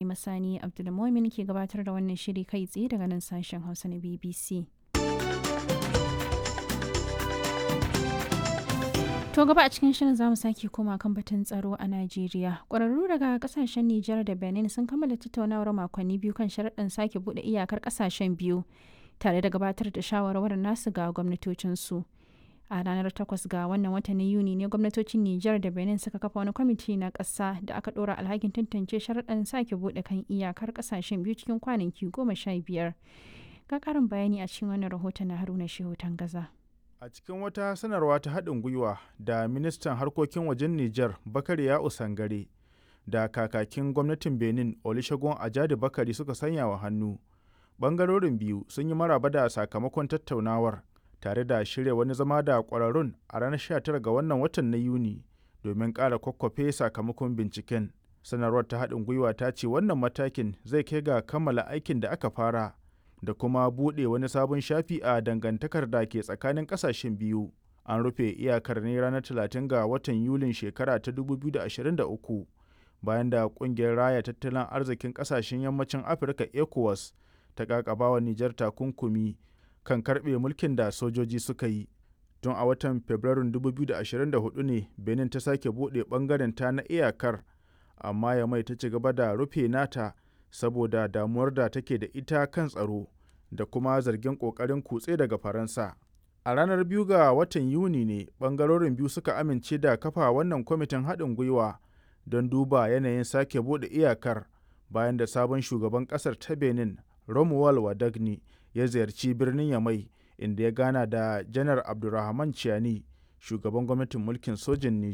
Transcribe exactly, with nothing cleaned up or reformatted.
Masani Abdulmumin ke gabatar da wannan shiri kai tsaye daga nan sashen Hausa na B B C. To gaba a cikin shirin zamu sake koma kan batun tsaro a Najeriya. Ƙwararru daga kasashen Nijar da Benin sun kammala tattaunawar makonni biyu kan sharaɗin sake buɗe iyakar kasashen biyu tare da gabatar da shawarwarin nasu ga gwamnatocinsu. A ranar takwas ga wannan watan na Yuni ne gwamnatocin Nijar da Benin suka kafa wani kwamiti na ƙasa da aka ɗora alhakin tantance sharaɗin sake buɗe kan iyakar ƙasashen biyu cikin kwanaki goma sha biyar. Ga ƙarin bayani a cikin wannan rahoton na Haruna Shehu Tangaza. A cikin wata sanarwa ta haɗin gwiwa da ministan harkokin wajen Nijar Bakari Ya'u Sangare da kakakin gwamnatin Benin Olusegun Ajadi Bakari suka sanya wa hannu, ɓangarorin biyu sun yi maraba da sakamakon tattaunawar tare da shirya wani zama da ƙwararrun a ranar sha tara ga wannan watan na Yuni domin ƙara kwakwafe sakamakon binciken. Sanarwar ta haɗin gwiwa ta ce wannan matakin zai kai ga kammala aikin da aka fara da kuma buɗe wani sabon shafi a dangantakar da ke tsakanin ƙasashen biyu. An rufe iyakar ne ranar talatin ga watan Yulin shekara ta dubu biyu da ashirin da uku bayan da ƙungiyar Raya Tattalin Arzikin Ƙasashen Yammacin Afirka ECOWAS ta ƙaƙabawa Nijar takunkumi kan karɓe mulkin da sojoji suka yi. Tun a watan Fabrairun dubu biyu da ashirin da huɗu ne Benin ta sake buɗe ɓangaren ta na iyakar, amma Yamai ta ci gaba da rufe nata saboda damuwar da take da ita kan tsaro da kuma zargin ƙoƙarin kutse daga Faransa. A ranar biyu ga watan Yuni ne ɓangarorin biyu suka amince da kafa wannan kwamitin haɗin gwiwa don duba yanayin sake buɗe iyakar bayan da sabon shugaban ƙasar ta Benin Romuald Wadagni ya ziyarci birnin Yamai, inda ya gana da Janar Abdurrahman Chiani, shugaban gwamnatin mulkin sojin Nijar.